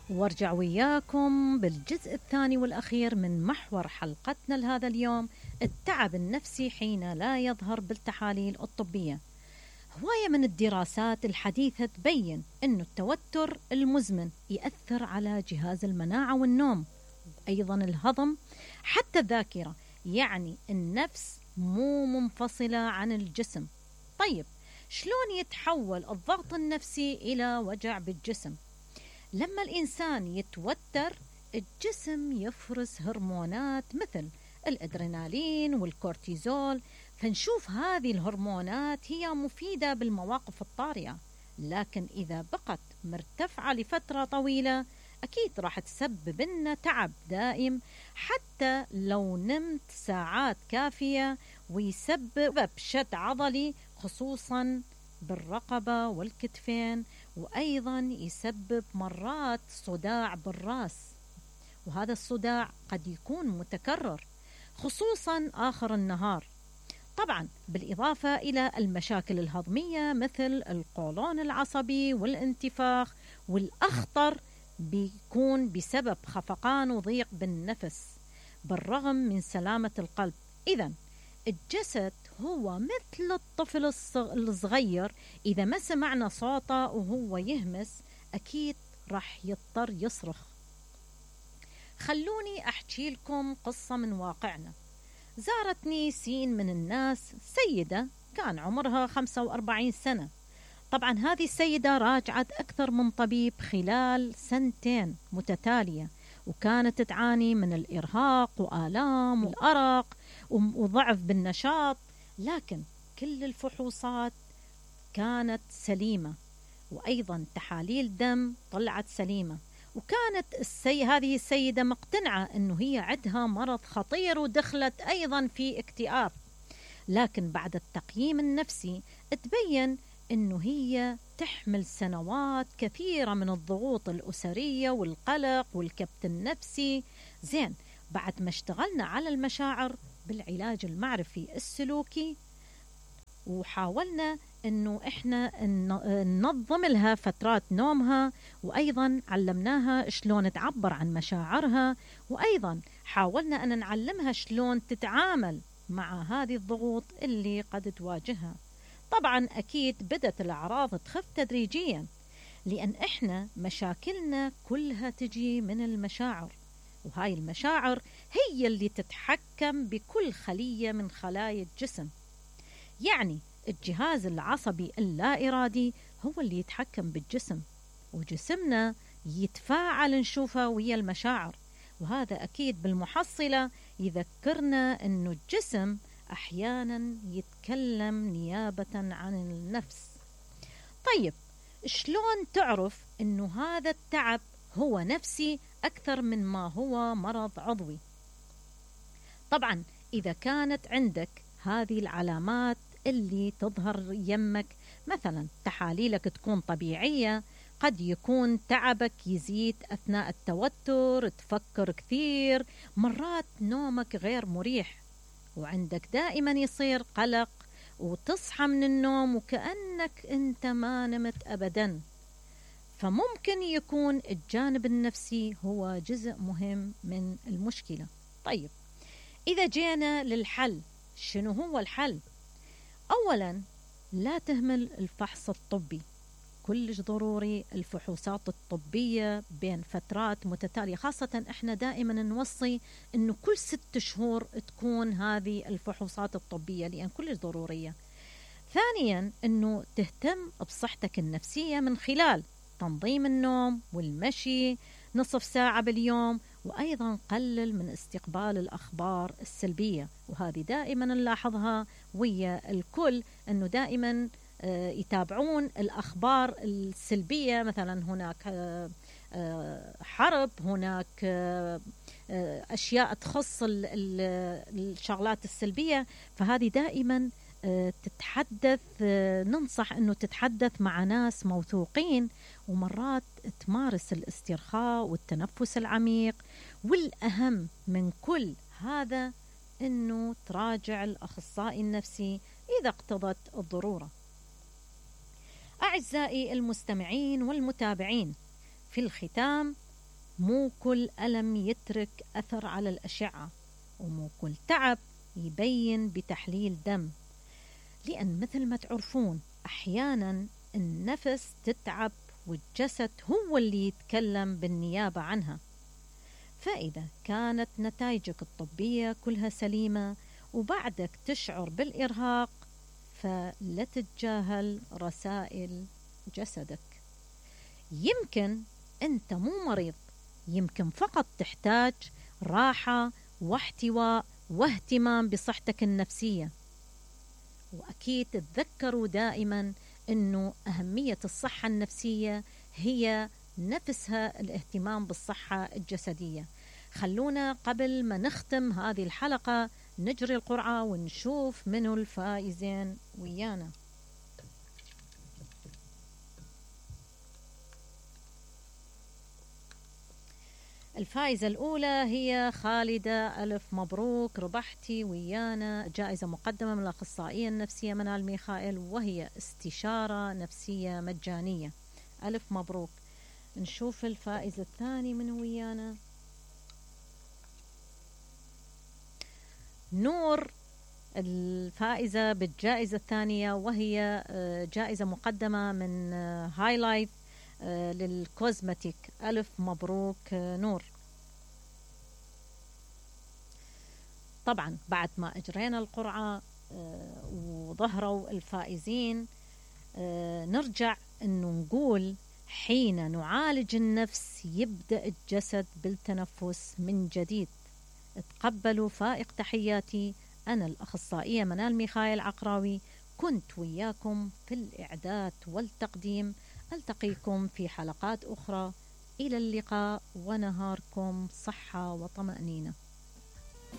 وارجع وياكم بالجزء الثاني والأخير من محور حلقتنا لهذا اليوم: التعب النفسي حين لا يظهر بالتحاليل الطبية. هواية من الدراسات الحديثة تبين أن التوتر المزمن يأثر على جهاز المناعة والنوم، أيضا الهضم، حتى الذاكرة. يعني النفس مو منفصلة عن الجسم. طيب، شلون يتحول الضغط النفسي إلى وجع بالجسم؟ لما الإنسان يتوتر الجسم يفرز هرمونات مثل الأدرينالين والكورتيزول، فنشوف هذه الهرمونات هي مفيدة بالمواقف الطارئة، لكن إذا بقت مرتفعة لفترة طويلة أكيد راح تسبب لنا تعب دائم حتى لو نمت ساعات كافية، ويسبب شد عضلي خصوصا بالرقبة والكتفين، وأيضا يسبب مرات صداع بالرأس، وهذا الصداع قد يكون متكرر خصوصا آخر النهار. طبعا بالإضافة إلى المشاكل الهضمية مثل القولون العصبي والانتفاخ، والأخطر بيكون بسبب خفقان وضيق بالنفس بالرغم من سلامة القلب. إذن الجسد هو مثل الطفل الصغير، إذا ما سمعنا صوته وهو يهمس أكيد راح يضطر يصرخ. خلوني أحكي لكم قصة من واقعنا. زارتني سين من الناس سيدة كان عمرها 45 سنة. طبعا هذه السيدة راجعت أكثر من طبيب خلال 2 متتالية، وكانت تعاني من الإرهاق وآلام والأرق وضعف بالنشاط، لكن كل الفحوصات كانت سليمة، وأيضا تحاليل دم طلعت سليمة، وكانت هذه السيدة مقتنعة أنه هي عندها مرض خطير ودخلت أيضا في اكتئاب. لكن بعد التقييم النفسي تبين أنه هي تحمل سنوات كثيرة من الضغوط الأسرية والقلق والكبت النفسي. زين، بعد ما اشتغلنا على المشاعر بالعلاج المعرفي السلوكي، وحاولنا أنه إحنا ننظم لها فترات نومها، وأيضا علمناها شلون تعبر عن مشاعرها، وأيضا حاولنا أن نعلمها شلون تتعامل مع هذه الضغوط اللي قد تواجهها. طبعا أكيد بدأت الأعراض تخف تدريجيا، لأن إحنا مشاكلنا كلها تجي من المشاعر، وهاي المشاعر هي اللي تتحكم بكل خلية من خلايا الجسم. يعني الجهاز العصبي اللا إرادي هو اللي يتحكم بالجسم، وجسمنا يتفاعل نشوفه ويا المشاعر، وهذا أكيد بالمحصلة يذكرنا أنه الجسم أحيانا يتكلم نيابة عن النفس. طيب، شلون تعرف أنه هذا التعب هو نفسي أكثر من ما هو مرض عضوي؟ طبعا إذا كانت عندك هذه العلامات اللي تظهر يمك، مثلا تحاليلك تكون طبيعية، قد يكون تعبك يزيد أثناء التوتر، تفكر كثير، مرات نومك غير مريح، وعندك دائما يصير قلق، وتصحى من النوم وكأنك أنت ما نمت أبدا، فممكن يكون الجانب النفسي هو جزء مهم من المشكلة. طيب، إذا جينا للحل، شنو هو الحل؟ أولا، لا تهمل الفحص الطبي، كلش ضروري الفحوصات الطبية بين فترات متتالية، خاصة إحنا دائما نوصي أنه كل 6 شهور تكون هذه الفحوصات الطبية، لأن كلش ضرورية. ثانيا، أنه تهتم بصحتك النفسية من خلال تنظيم النوم والمشي نصف ساعة باليوم، وأيضا قلل من استقبال الأخبار السلبية، وهذه دائما نلاحظها ويا الكل، أنه دائما يتابعون الأخبار السلبية، مثلا هناك حرب، هناك أشياء تخص الشغلات السلبية، فهذه دائما تتحدث، ننصح أنه تتحدث مع ناس موثوقين، ومرات تمارس الاسترخاء والتنفس العميق، والأهم من كل هذا أنه تراجع الأخصائي النفسي إذا اقتضت الضرورة. أعزائي المستمعين والمتابعين، في الختام مو كل ألم يترك أثر على الأشعة، ومو كل تعب يبين بتحليل دم، لأن مثل ما تعرفون أحيانا النفس تتعب والجسد هو اللي يتكلم بالنيابة عنها. فإذا كانت نتائجك الطبية كلها سليمة وبعدك تشعر بالإرهاق، فلا تتجاهل رسائل جسدك. يمكن أنت مو مريض، يمكن فقط تحتاج راحة واحتواء واهتمام بصحتك النفسية. وأكيد تذكروا دائما أنه أهمية الصحة النفسية هي نفسها الاهتمام بالصحة الجسدية. خلونا قبل ما نختم هذه الحلقة نجري القرعة ونشوف منو الفائزين ويانا. الفائزة الأولى هي خالدة، ألف مبروك، ربحتي ويانا جائزة مقدمة من الأخصائية النفسية منال ميخائيل، وهي استشارة نفسية مجانية. ألف مبروك. نشوف الفائز الثاني من ويانا. نور الفائزة بالجائزة الثانية، وهي جائزة مقدمة من هاي لايف للكوزمتيك. ألف مبروك نور. طبعا بعد ما أجرينا القرعة وظهروا الفائزين، نرجع أنه نقول حين نعالج النفس يبدأ الجسد بالتنفس من جديد. تقبلوا فائق تحياتي، أنا الأخصائية منال ميخائيل عقراوي، كنت وياكم في الإعداد والتقديم. ألتقيكم في حلقات أخرى. إلى اللقاء ونهاركم صحة وطمأنينة.